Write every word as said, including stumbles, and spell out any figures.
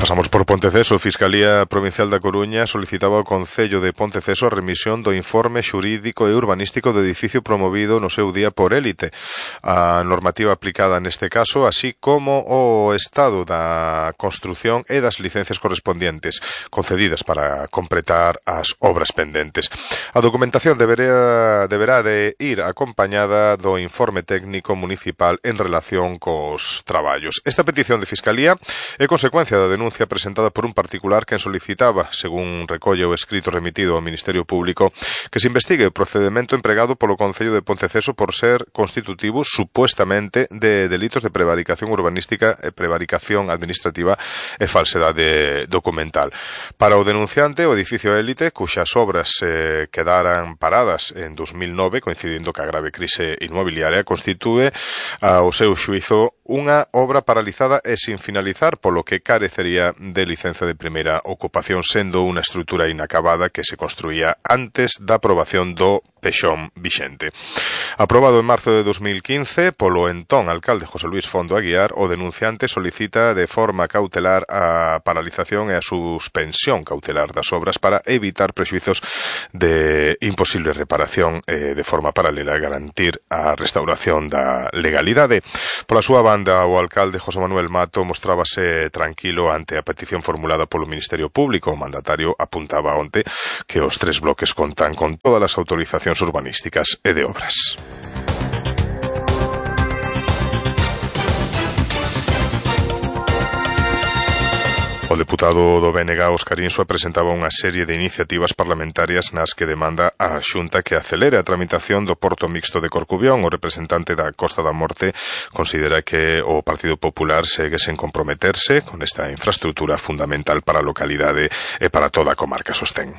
Pasamos por Ponteceso. A Fiscalía Provincial da Coruña solicitaba ao Concello de Ponteceso a remisión do informe xurídico e urbanístico do edificio promovido no seu día por élite. A normativa aplicada neste caso, así como o estado da construción e das licencias correspondientes concedidas para completar as obras pendentes. A documentación deberá, deberá de ir acompañada do informe técnico municipal en relación cos traballos. Esta petición de Fiscalía é consecuencia da denuncia presentada por un particular que solicitaba, según recolle o escrito remitido ao Ministerio Público, que se investigue o procedemento empregado polo Concello de Ponteceso por ser constitutivo supuestamente de delitos de prevaricación urbanística e prevaricación administrativa e falsedade documental. Para o denunciante, o edificio élite, cuxas obras eh, quedaran paradas en dos mil nove, coincidindo ca grave crise inmobiliaria, constitúe ao seu xuízo unha obra paralizada e sin finalizar, polo que carecería de licencia de primeira ocupación, sendo unha estrutura inacabada que se construía antes da aprobación do pexón vixente. Aprobado en marzo de dos mil quince polo entón alcalde José Luís Fondo Aguiar, o denunciante solicita de forma cautelar a paralización e a suspensión cautelar das obras para evitar prexuizos de imposible reparación e de forma paralela garantir a restauración da legalidade. Pola súa banda, o alcalde José Manuel Mato mostrábase tranquilo ante a petición formulada polo Ministerio Público. O mandatario apuntaba onte que os tres bloques contan con todas as autorizacións urbanísticas e de obras. O deputado do B N G, Óscar Insua, presentaba unha serie de iniciativas parlamentarias nas que demanda á Xunta que acelere a tramitación do porto mixto de Corcubión. O representante da Costa da Morte considera que o Partido Popular segue sen comprometerse con esta infraestrutura fundamental para a localidade e para toda a comarca, sostén.